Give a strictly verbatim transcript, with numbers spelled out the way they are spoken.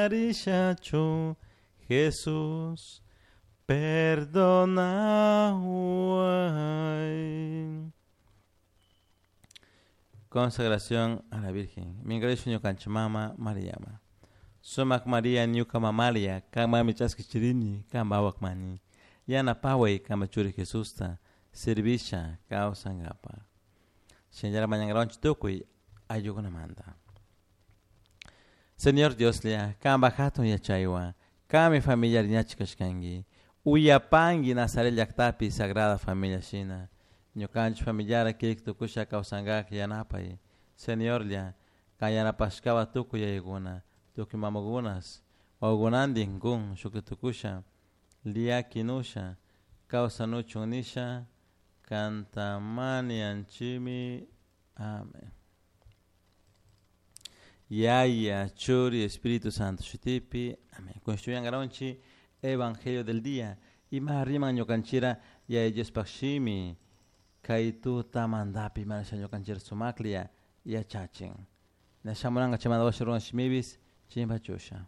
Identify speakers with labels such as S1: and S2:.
S1: Rishachu Jesús perdonahuay. Consagración a la Virgen. Mingarishu ñukanchik mama Mariama. Sumak Maria ñuka mamalia, kanmami chaskichirini, kanpa mani. Yanapaway kanpa churi Jesusta, servisha kawsankapaj. Shinallara mañankaronchik tukuy ayllukunamanta. Señor Dioslla, kanpa hatun yachaywan, kanmi familiar ñachik kashkanki. Uyapanki Nazaret llaktapi Sagrada Familia shina. Ñukanchik familiara kirik tukusha kawsankak yanapay. Señorlla, kan yanapashkawa tukuy yayakuna, tukuy mamakunas, wawakunantin kun shukta tukusha, llakinusha, kawsanuchun nisha, kanta mañanchikmi. Amén. Yaya, Churi, Espíritu Santo shutipi. Amén. Construyangaronchi Evangelio del día. Ima riman ñukanchira Yaya Diospaj shimi kay tutamantapi mana ñukanchira sumaklla yachachin. Nashamunanka chaymanta washa runa shimipis chimpachusha.